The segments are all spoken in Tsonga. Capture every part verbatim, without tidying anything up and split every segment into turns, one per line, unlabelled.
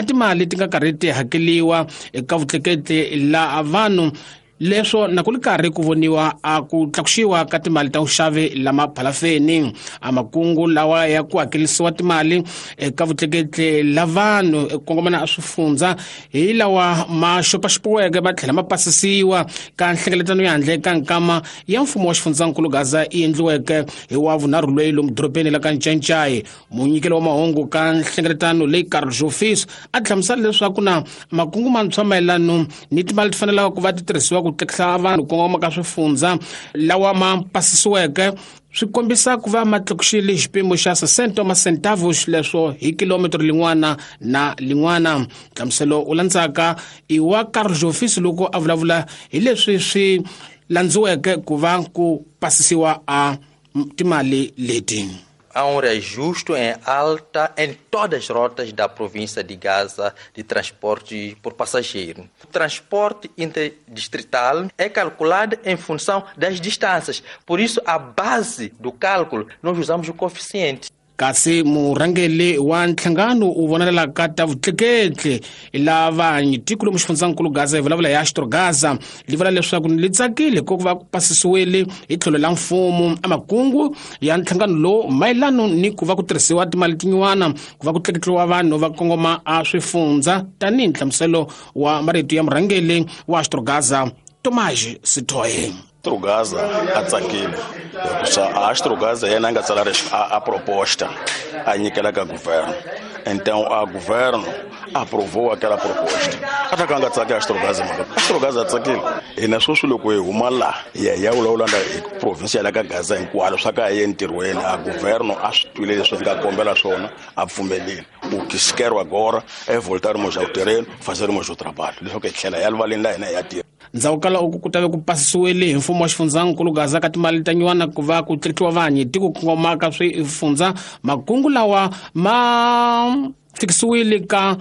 timali ti nga karhi ti hakeliwa eka vutleketli la vanhu leswo na ku ri karhi ku voniwa a ku tlakuxiwa ka timali ta vuxavi lama phalafeni. A makungu lawa ya ku hakelisiwa timali eka vutleketli la vanhu eku kongomana a swifundza hi lawa ma xopaxopiweke ma tlhela ma pasisiwa ka nhlengeletano ya handle ka nkama ya mfumo wa xifundzankulu Gaza yi endliweke hi wa vunharhu loyi lomu dorobeni la ka Ncancai. Munyikeli wa mahungu ka nhlengeletano leyi Carlos Jofis a hlamusela leswaku na makungu mantshwa mayelano ni timali ti fanelaka ku va ti tirhisiwa ku tleketla vanhu kongoma ka swifundza lawa ma pasisiweke swi kombisa ku va ma tlakuxile xipimo xa sessenta wa macentavos leswo hi kilometro lin'wana na lin'wana. Nhlamuselo u landzaka i wa Carlos Jofis loko a vulavula hi leswi swi landziweke ku va ku pasisiwa a timali leti.
Há um reajuste em alta em todas as rotas da província de Gaza de transporte por passageiro. O transporte interdistrital é calculado em função das distâncias. Por isso, a base do cálculo, nós usamos o coeficiente.
Kasi murhangeri wa nhlangano u vonelaka ta vutleketli lava tiko lomu xifundzankulu Gaza hi vulavula hi Astro Gaza li vula leswaku li tsakile ku va ku pasisiwile hi tlhelo la mfumo a makungu ya nhlangano lowu mayelano ni ku va ku tirhisiwa timali tin'wana ku va ku tleketliwa vanhu va kongoma a swifundza tanihi nhlamuselo wa marito ya murhangeri wa Astro Gaza Tomás Sitoe.
Astro Gaza a tsakile hikuva a Astro Gaza yena a nga tsala a, a proposta a nyikela ka governo. Então a governo aprovou aquela proposta. Ata ka nga tsaki Astro Gaza mara Astro Gaza a tsakile. Hina sweswi loko hi huma la hi ya hi ya vulavula na hi province ya la ka Gaza hinkwalo swa ka hi ye entirhweni a governo a swi twile leswi hi nga kombela swona a pfumelile. O que se quer agora é voltarmos ao terreno, fazermos o trabalho. Leswaku hi tlhela ya rivaleni la hina hi ya tirha.
Ndzhaku ka loko ku tave ku pasisiwile hi mfumo wa xifundzankulu Gaza ka timali ta nyuwana ku va ku tleketliwa vanhu tiko kongoma ka swifundza makungu lawa ma fikisiwile ka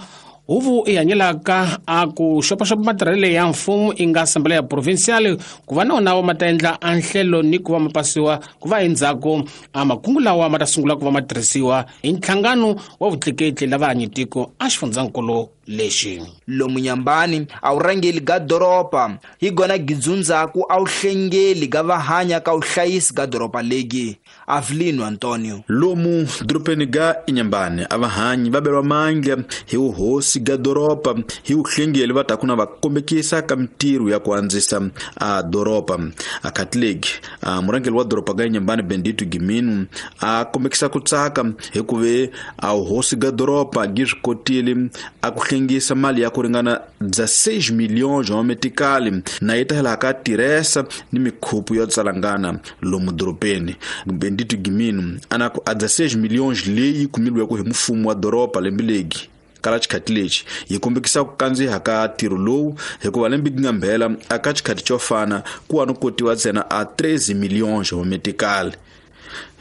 huvo i hanyelaka a ku xopaxopa matirhelo ya mfumo i nga Assembleia Provincial ku va na wona ma ta endla a nhlelo ni ku va ma pasiwa ku va endzhaku a makungu lawa ma ta sungula ku va ma tirhisiwa hi nhlangano wa vutleketli lava hanyetiko a xifundzankulu lexi.
Lomu Nyambani a wu rhangeli ga doroba hi gona gidzundzaku a wu hlengeli ga vahanya ka vuhlayisi ga doroba legi. Avelino Antonio.
Lomu dorobeni ga Inhambane a vahanyi va beriwa mandla hi vuhosi ga doroba hi vuhlengeli va ta ku na va kombekisa ka mintirho ya ku andzisa a doroba. A Catholic a murhangeri wa doroba ga Inhambane Bendito Giminu a kombekisa ku tsaka hikuva a vuhosi ga doroba gi swi kotile a ku hlengisa mali ya ku ringana dezesseis milhões wa metikali na yi ta hela ka tirhesa ni mikhupu yo tsalangana lomu dorobeni. Bendito Giminu ana ku a dezesseis milhões leyi kumilweke hi mfumo wa doroba lembe legi kala xikhati lexi yi kombekisa ku kandziha ka ntirho lowu hikuva lembe gi nga mbhela aka xikhati xo fana ku wa no kotiwa ntsena a treze milhões wa metikali.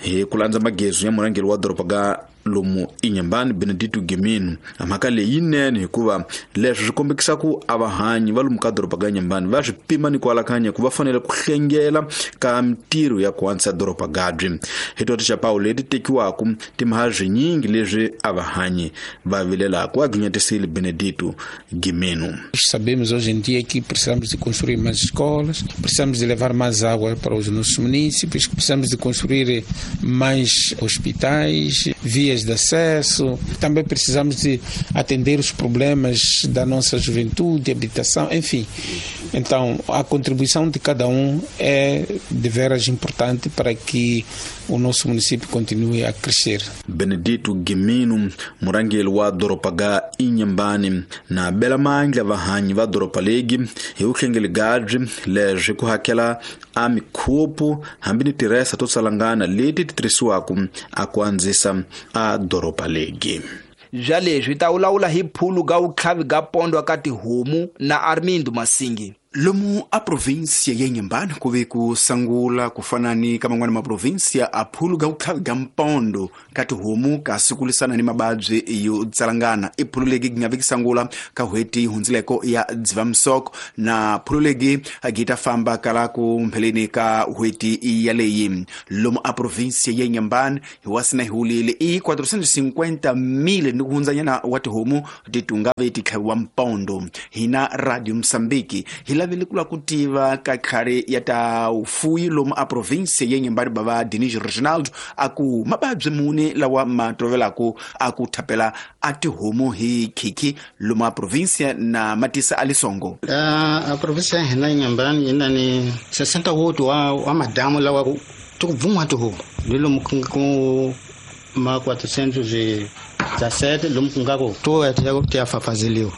Hi ku landza magezu ya murhangeri wa doroba ga lomu Inhambane Benedito Giminu mhaka leyi yinene hikuva leswi swi kombekisa ku a vahanyi va lomu ka doroba ga Inhambane va swi pima ni ku alakanya ku va fanele ku hlengela ka mintirho ya ku antswisa doroba gabyi. Hi to tichapawu leti tekiwaka timhaka swinyingi leswi a vahanyi va vilelaka a ginyetisile Benedito Giminu.
Sabemos hoje em dia que precisamos de construir mais escolas, precisamos de levar mais água para os nossos municípios, precisamos de construir mais hospitais, vias de acesso, também precisamos de atender os problemas da nossa juventude, habitação, enfim. Então, a contribuição de cada um é de veras importante para que o nosso município continue a crescer.
Benedito Giminu, murhangeri wa doroba ga Inhambane na bela mandla vahanyi va doroba legi hi vuhlengeli gabyi leswi ku hakela a mikhupu hambi ni tirhesa to tsalangana leti ti tirhisiwaka a ku andzisa a doroba legi.
Bya leswi ta vulavula hi phulu ga vutlhavi ga pondwa ka tihomu na Armindo Masingi.
Lomu a província ya Inhambane ku ve ku sangula ku fana ni ka man'wana maprovíncia a phulu ga ku ga mpondo ka tihomu kasi ku lwisana ni mababyi yo tsalangana. I phulu legi gi nga veki sangula ka hweti hundzileko ya Dzivamisoko na phulu legi gi ta famba kala ku mpheleni ka hweti yaleyi. Lomu a província ya Inhambane hi wasina hi hulile i quatrocentos e cinquenta mil ni ku hundzanyana wa tihomu ti tunga ve ti tlhaviwa mpondo. Hina Radio Mozambique hi lavile ku lava ku tiva ka khale ya ta ufuyi lomu a província ya Inhambane bava Denis Reginaldo a ku mababyi muni lawa ma tovelaku a ku thapela a tihomu hi khikhi lomu a província na matisa a lisongo.
A província ya hina Inhambane yi na ni sessenta e oito wa, wa madamu lawa ku ti ku bvun'wa tihomu ni lomu ku nga ku ma quatrocentos e dezessete lomu ku nga ku to ya ti ya fafazeliwa.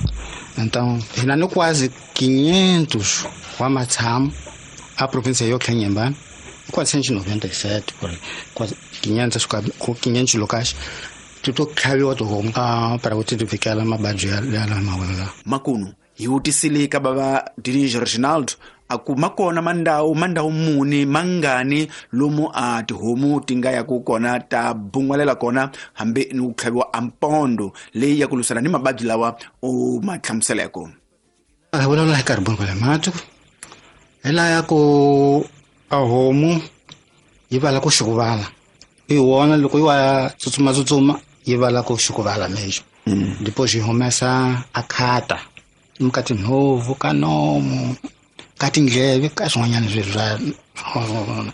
Então, hina ni quase quinhentos wa matshamo a província yotlhe Inhambane, quatrocentos e noventa e sete por aí, quase quinhentos, quinhentos locais ti to tlhaviwa tihomu para ku ti ti fikela mababyi ya lama la.
Makunu hi vutisile ka bava Denis Reginaldo a ku makona mandawu mandawu muni mangani lomu a tihomu ti nga ya ku kona ta bun'walela kona hambi ni ku tlhaviwa a mpondo leyi ya ku lwisana ni mababyi lawa u ma hlamuseleko.
A hi vulavula hi carboncolemático hi laya ku a homu yi vala ku xukuvala i wona loko yi wa tsutsuma-tsutsuma yi vala ku xukuvala mesmo. Depois yi humesa a khata ka tinhovu ka nomu ka tindleve ka swin'wanyana swilo swa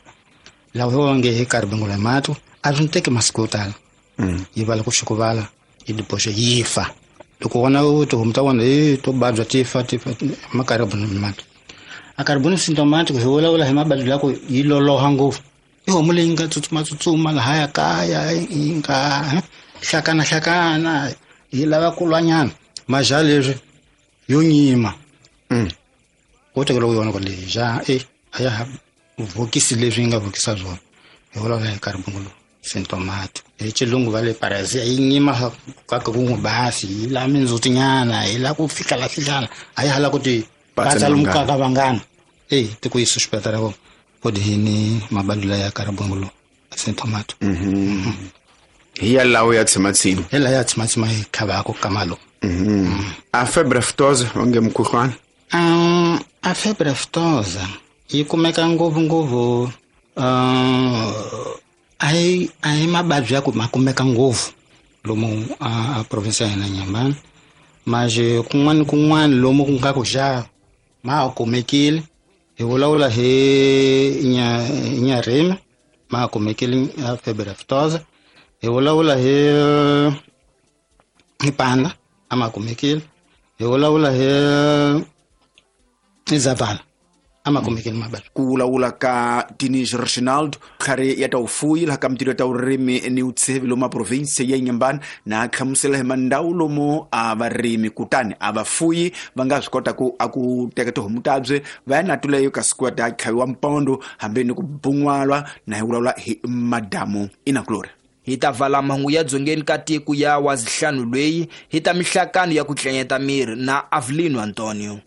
lawa hi nge hi carboncolemático a swi teki masiku yo tala yi vala ku xukuvala yi depois yi fa. Loko wona tihomu ta wona hi to babya ti fa ti fa ma carboncolemático. A carbon symptomatic hi vulavula hi mababyi la ku yi loloha ngopfu. I homu leyi nga tsutsuma-tsutsuma lahaya kaya yi nga hlakana-hlakana yi lava ku lwanyana maja leswi yo nyima. Wo tekela ku yona ku leyi ja e a ya ha vhokisi leswi yi nga vhokisa swona. Hi vulavula hi carbon symptomatic. Hi xilungu va le parasia yi nyima kaka ku n'wi basi yi lava mindzhutinyana yi lava ku fihlala fihlala a yi hala ku ti patsa lomu ka vangana e ti ku yi suspecta ra ku dini mababyi ya carbon symptomatic.
Hi ya lawo ya tshimatsima
hi lawa ya tshimatsima hi khavako ka malo.
A febre aftosa onge mukhuhlwana.
Um, a febre aftosa yi kumeka ngopfu-ngopfu uh, a hi a hi mababyi ya ku ma kumeka ngopfu lomu a, a província ya hina Inhambane, mas kun'wana ni kun'wana lomu ku nga ku xa ma ha kumekile. Hi vulavula hi Inharime ma ha kumekile a febre aftosa. Hi vulavula hi hi Panda a ma kumekile. Hi vulavula hi hi Zavala a ma kumekile mababyi.
Ku vulavula ka Denis Reginaldo khale ya ta ufuyi laha ka mitirho ya ta vurimi ni vutshevi lomu a província ya Inhambane na hlamusela hi mandawu lomu a varimi kutani a vafuyi va nga swi kota ku a ku teka tihomu tabye va ya na tuleyo kasi ku ya ta tlhaviwa mpondo hambi ni ku bun'walwa na hi vulavula hi madamu Inakulori.
Hi ta vala mahungu ya dzongeni ka tiko ya wazihlanu lweyi hi ta mihlakano ya ku tlenyeta miri na Avelino Antonio.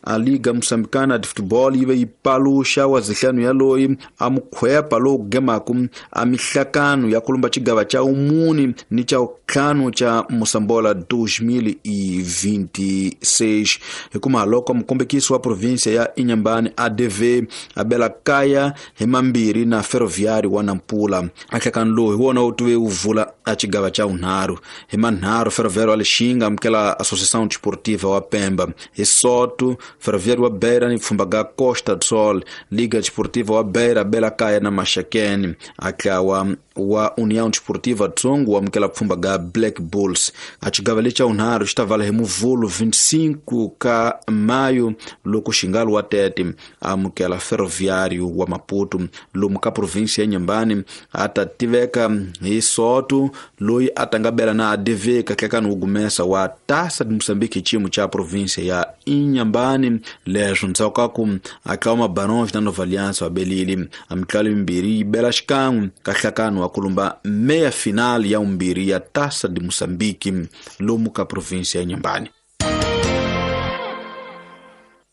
A Liga Moçambicana de Futebol yi ve yi paluxa wazihlanu yaloyi a mukhwepa lowu gemaku a mihlakano ya kulumba xigava xa umuni ni xa ntlhanu xa Moçambola dois mil e vinte e seis. Hikuma loko mukombekisi wa província ya Inhambane A D V a bela kaya hi mambirhi na Ferroviário wa Nampula. A nhlakano lowu hi wona wu tive wu vula a xigava xa vunharhu. Hi manharhu Ferroviário wa Lixinga amukela Associação Desportiva wa Pemba. Hi Soto Ferroviário wa Beira ni pfumba ga Costa do Sol, Liga Desportiva wa Beira bela kaya na Maxakeni. A tlawa wa União Desportiva Tsongo wa amukela pfumba ga Black Bulls. A xigava lexa vunharhu xi ta vala hi Muvhulu vinte e cinco ka maio loko Xingalo wa Tete amukela Ferroviário wa Maputo. Lomu ka província ya Inhambane a ta tiveka hi Soto loyi a ta nga bela na A D V ka hlekani wu gumesa wa Taça de Moçambique hi xiyimo xa província ya Inhambane. Leswo ndzhaku ka ku a tlawa Barões na Nova Aliança wa belile a mitlalo yimbirhi yi bela xikan'we ka hlakano wa kulumba meia final ya vumbirhi ya Taça de Moçambique lomu ka província ya Inhambane.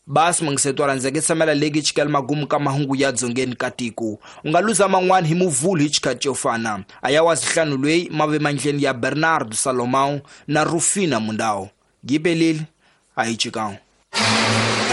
Basi mangisetwa randzeke tsamela legi chikela magumu ka mahungu ya dzongeni ka tiko. U nga luza man'wana hi muvhulu hi xikhathi xo fana. A ya wa zihlanu lweyi mave mandleni ya Bernardo Salomão na Rufina Mundao. Gibelile a hi chikao.